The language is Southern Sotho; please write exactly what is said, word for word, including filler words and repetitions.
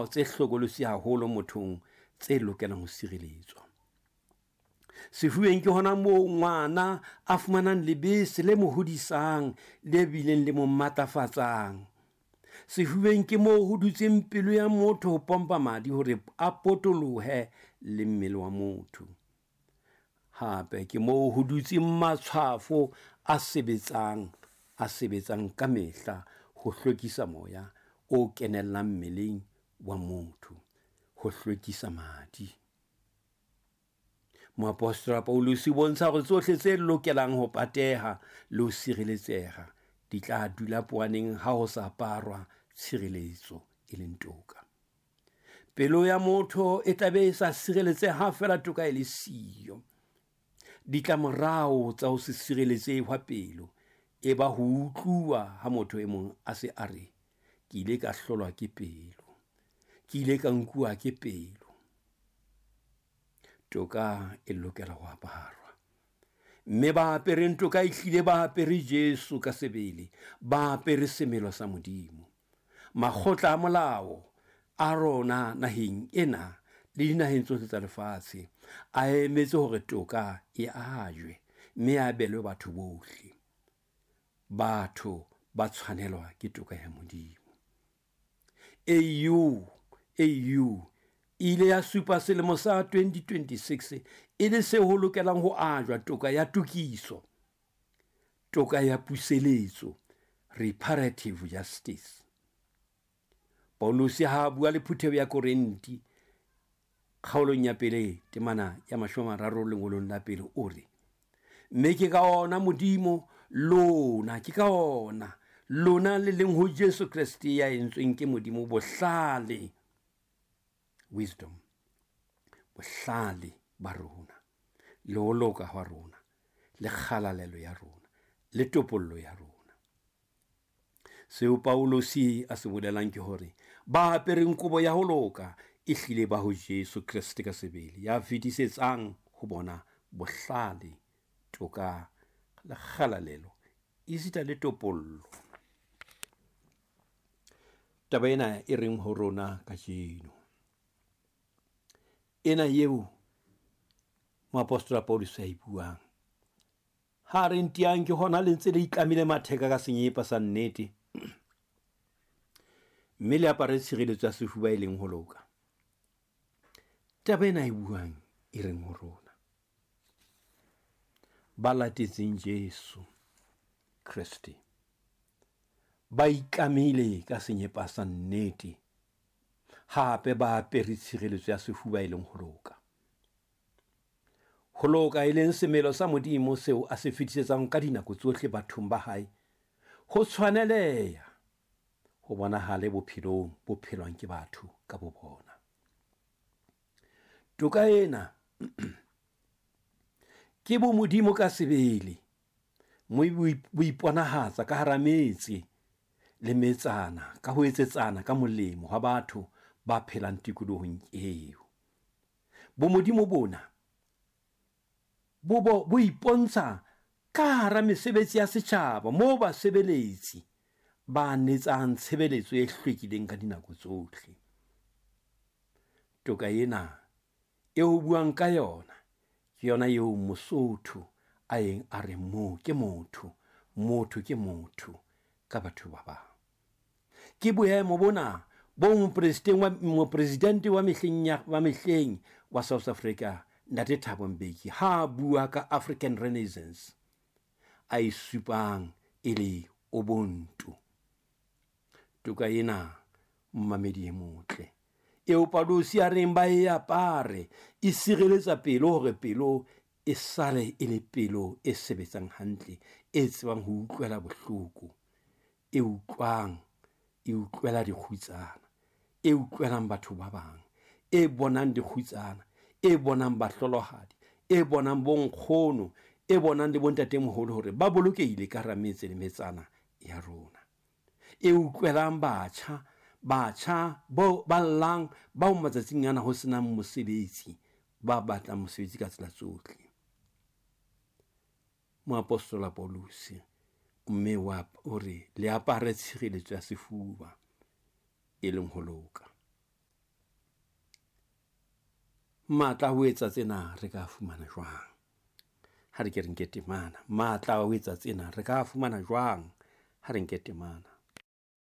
tse hlokolosi haholo mothong tse lokelang ho sireletswa. Sefubeng ke hona moo ngwana a fumanang lebese le mo hodisang le bileng le mo matlafatsang. Sefubeng ke moo ho dutseng pelo ya motho ho pompa madi hore a potolohe le mmele wa motho. Hape ke moo ho dutseng matshwafo a sebetsang a sebetsang ka mehla ho hlwekisa moya o kenellang mmeleng wa motho, ho hlwekisa madi. Moapostola Paulus o bontsha hore tsohle tse lokelang ho pateha le ho sireletseha di tla dula poaneng ha ho sa aparwa tshireletso e leng toka. Pelo ya motho e tla be e sa sireletseha ha feela toka e le siyo. Ditlamorao tsa ho se sireletsehe hwa pelo e ba ho utluwa ha motho e mong a se a re, ke ile ka hlolwa ke pelo, ke ile ka nkuwa ke pelo. Toka e lokela ho aparwa, mme ba apereng toka ehlile ba apere Jesu ka sebele, ba apere semelo sa Modimo. Makgotla a molao a rona naheng ena le dinaheng tsohle tsa lefatshe a emetse hore toka e ajwe mme e abelwe batho bohle. Batho ba tshwanelwa ke toka ya Modimo. A U, A U e ile ya supa selemo sa twenty twenty-six e le seo ho lokelang ho ajwa toka ya tokiso, toka ya puseletso, reparative justice. Paulus ha a bua le phutheho ya Korinthe kgaolong ya pele temana ya mashome a mararo lengolong la pele o re, mme ke ka ona Modimo lona, ke ka ona lona le leng ho Jesu Kreste ya entsweng ke Modimo bohlale, wisdom, bohlale ba rona, le ho loka hwa rona, le kgalalelo ya rona, le topollo ya rona. Seo Paulus a se bolelang ke hore ba apereng kobo ya ho loka e hlile ba ho Jesu Kreste ka sebele, ya fetisetsang ho bona bohlale, toka le kgalalelo, esita le topollo. Taba ena e reng ho rona kajeno, ena eo moapostola Paulus a e buang, ha re ntiang ke hona le ntse le itlamile matheka ka senyepa sa nnete, mme le apare tshireletso ya sefuba e leng ho loka. Taba ena e buang e reng ho rona, ba latetseng Jesu Kreste ba itlamile ka senyepa sa nnete, hape ba apere tshireletso ya sefuba e leng ho loka. Ho loka e leng semelo sa Modimo seo a se fetisetsang ka dinako tsohle bathong ba hae, ho tshwaneleha ho bonahale bophelong bo phelwang ke batho ka bo bona. Toka ena ke bo Modimo ka sebele, mme bo iponahatsa ka hara metse le metsana, ka ho etsetsana ka molemo hwa batho ba phelang tikolohong eo. Bo Modimo bona bo bo, bo ipontsha ka hara mesebetsi ya setjhaba moo basebeletsi ba netsang tshebeletso e hlwekileng ka dinako tsohle. Toka ena eo buang ka yona ke yona eo Mosotho a yeng a re mo ke motho, motho ke motho ka batho ba bang. Ke boemo bona bo mopresidente wa, mopresidente wa mehleng ya, wa mehleng wa South Africa, Ntate Thabo Mbeki, ha bua ka African Renaissance a e supang e le Ubuntu. Toka ena mmamedi e motle eo Paulus a reng ba e apare, e sireletsa pelo hore pelo e sale e le pelo e sebetsang hantle, e tsebang ho utlwela bohloko, e utlwang, e utlwela dikgutsana, e utlwelang batho ba bang, e bonang dikgutsana, e bonang bahlolohadi, e bonang bonkgono, e bonang le bontatemoholo hore ba bolokehile ka hara metse le metsana ya rona, e utlwelang batjha, batjha bao ba llang, bao matsatsing ana ho senang mosebetsi, ba batlang mosebetsi ka tsela tsohle. Moapostola Paulus mme wa o re le apare tshireletso ya sefuba e leng ho loka. Matla a ho etsa tsena re ka fumana jwang? Ha re ke re nke temana. Matla a ho etsa tsena re ka fumana jwang? Ha re nke temana.